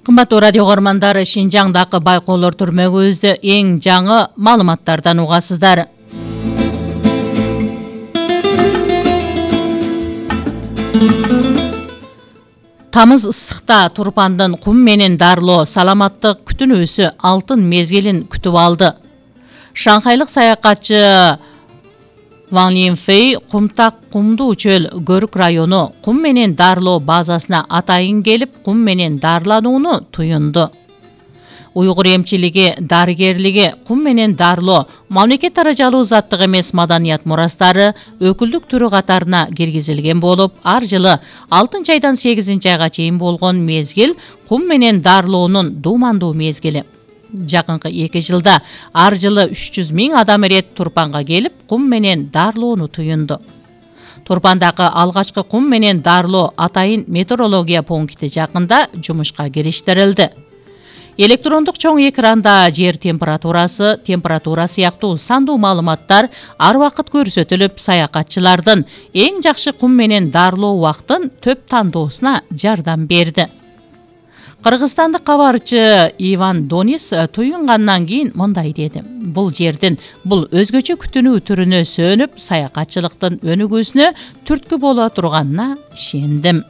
Кымбаттуу радио көрмандар, Шинжаңдагы байкоолор түрмөгүбүздө эң жаңы маалыматтардан угасыздар. Тамыз ысыкта Турпандын кум менен дарлоо саламаттык күтүнүүсү алтын мезгилин күтүп алды. Шанхайлык саякатчы Ван Линфей кумдуу чөл көрүк району кум менен дарлоо базасына атайын келип, кум менен дарланууну туюнду. Уйгур эмчилиги, дарыгерлиги, кум менен дарлоо мамлекет даражалуу заттык эмес маданият мурастары өкүлдүк түрү катарына киргизилген болуп, ар жылы 6 айдан 8 айга чейин болгон мезгил кум менен дарлоонун дуумандуу мезгили. Жакынкы 2 жылда ар жылы 300 000 адам ирет Турпанга келип, кум менен дарлоону туюнду. Турпандагы алгачкы кум менен дарлоо атайын метеорология пункти жакында жумушка кириштирилди. Электрондук чоң экранда жер температурасы сыяктуу сандуу маалыматтар ар убакыт көрсөтүлүп, саякатчылардын эң жакшы кум менен дарлоо убактын төп тандоосуна жардам берди. Кыргызстандык кабарчы Иван Донис туюнгандан кийин мындай деди: "Бул жердин бул өзгөчө күтүнүү түрүнө сөнүп, саякатчылыктын өнүгүүсүнө түрткү боло турганына ишендим."